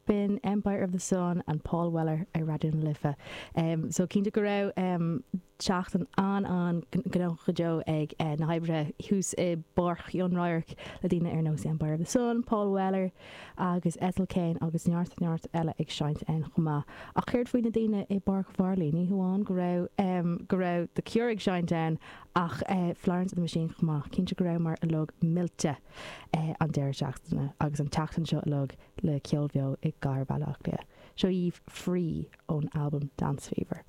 B'in Empire of the Sun and Paul Weller ar Raidió na Life. So cinnte go raibh seachtain an-an-ghnóthach go deo ag na hoibrithe thuas i bPáirc Chionn Radhairc le daoine ar nós Empire of the Sun, Paul Weller agus Ethel Cain agus neart neart eile ag seinnt ann chomh maith. Ach céard faoi na daoine i bPáirc Mharlaí? Ní hamháin go raibh go raibh The Cure ag seinnt ann ach Florence and the Machine chomh maith. Cinnte go rabhamar uilig millte an deireadh seachtaine agus an tseachtain seo uilig le ceol beo i gcathair Bhaile Átha Cliath. Seo dhaoibh Free ón albam Dance Fever.